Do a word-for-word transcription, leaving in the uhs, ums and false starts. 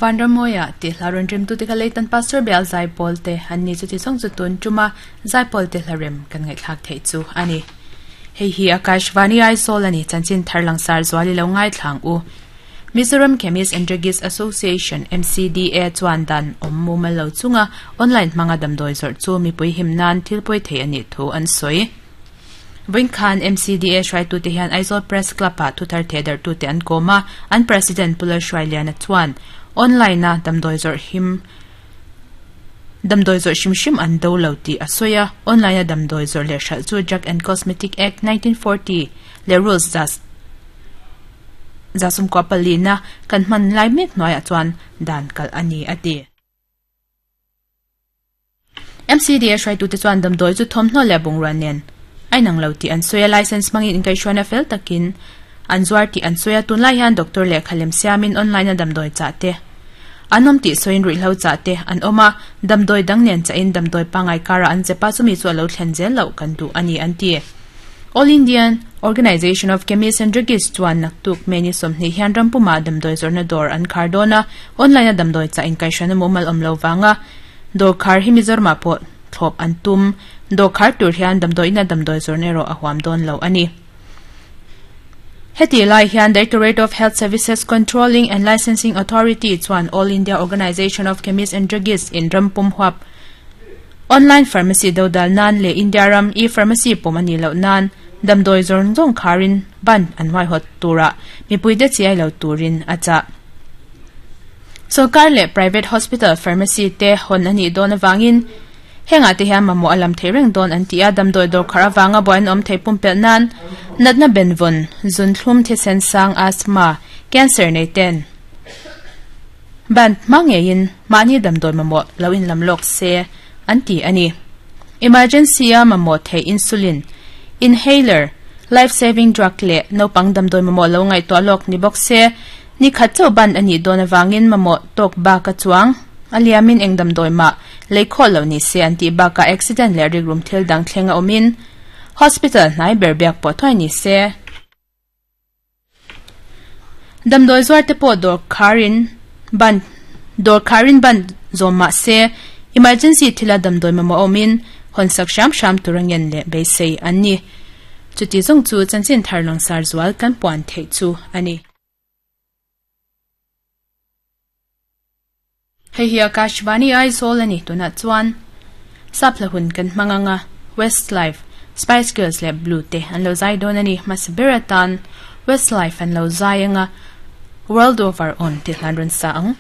Vanramoya ti hlaron rem tu te ka leitan pastor bel zai pol te an ni chu ti song chu tun chuma zai pol te hlarem kan ngai thlak thei chu ani. Hei hi Akashvani Aizawl ani chanchin tharlang sar zwali lo ngai thlang u. Mizoram Chemist and Druggist Association M C D A chuan dan om mu mal lo chunga online manga damdoi zor chu mi pui him nan thil poi thei ani thu an soi. Wing Khan M C D A shrai tu te hian Aizawl Press Club a thu thar thedar tu te an koma an president Pular Shrailiana chuan online na damdoi zor him damdoi zor shim shim an do lo ti asoya online na damdoi zor le shal chu Drug and Cosmetic Act nineteen forty le rules das zasum ko palina kan man lai mek noya chuan dan kal ani ati. M C D A shrai tu te chuan damdoi chu thomhno le bungran nen ai nang lo ti an soya license mangin in kai shwana fel takin an zuar ti an soya tun lai hian doctor le khalem siamin online na damdoi cha te anom ti soin ri hlo cha te an oma damdoi dang nen cha in damdoi pangai kara an chepa chumi chu lo thlen zel lo kan du ani an ti. All Indian Organization of Chemists and Druggists chuan naktuk meni somni hian rampuma damdoi zorna dor an khardona online na damdoi cha in kai shwana mumal omlo wanga dor khar hi Mizorma po thlop an tum do khar tur hian damdoi na damdoi zorne ro ahwam don lo ani. Heti lai hian Directorate of Health Services Controlling and Licensing Authority chuan All India Organization of Chemists and Druggists in Rampum huap online pharmacy dodal nan le India ram e pharmacy pomani lo nan damdoi zorn zong kharin ban an hwai hot tura mipui de chiai lo turin acha. Sarkar le private hospital pharmacy te hon ani don awangin henga te hian mamo alam theireng don an tia damdoi dor khara wanga boin om thei pumpel nan natna benvon zun thlum the sen sang asthma cancer nei ten ban mangein mani damdoi mamo loin lamlok se an ti ani. Emergency a mamo the insulin inhaler life saving drug le no pang damdoi mamo lo ngai to lok ni bok se ni khat chau ban ani don awangin mamo tok ba ka chuang aliamin engdam doi ma leikhol lo ni se anti ba ka accident le rig room thil dang thlenga omin hospital nai berbek po thoi ni se damdoi zwar te po dor kharin ban dor kharin ban zoma se emergency thila damdoi ma omin honsak sham sham turangen le be sei anni chuti zong chu chanchin tharlong sar zwal kan puan thei chu ani. Hei hi Akashvani Aizawl ani tuna chuan saplahun kan manganga Westlife Spice Girls le Blue te an lo zai don ani masberatan Westlife an lo zai anga World of Our Own ti hlan run sa ang.